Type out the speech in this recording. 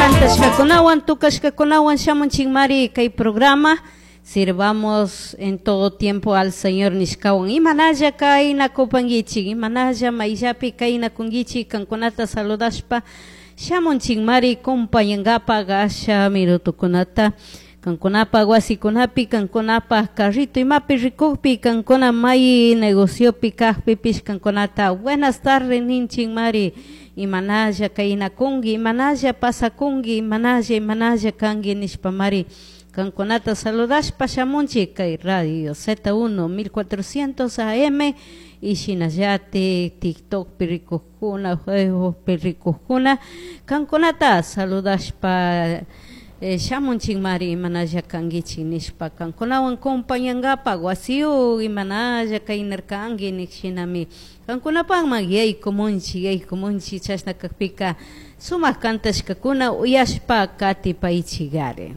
Kantashkakunawan tukashkakunawan shamunchikmari kay programa Sirvamos en todo tiempo al Señor nishkawan. Imanalla kaynakupankichik, imanalla mayllapi kaynakunkichik kankunata saludashpa shamunchikmari compañankapak asha minutokunata kankunapaj wasikunapi, kankunapaj carrito imapi rikukpi, kankuna may negociopi kajpipish kankunata buenas tardes ninchikmari. Imanalla kaynakunki, imanalla pasakunki, imanalla imanalla kanki nishpamari kankunata saludashpa shamunchik kay radio Z1 1400 AM y shinallatik TikTokpi rikukuna, Facebookpi rikukuna kankunata saludashpa shamunchikmari imanalla kankichik nishpa kankunawan compañankapak wasiyuk imanalla kaynarkanki nik shinami kankunapakman yaykumunchik yaykumunchik chashna kakpika sumak kantashkakuna uyashpa katipaychikari.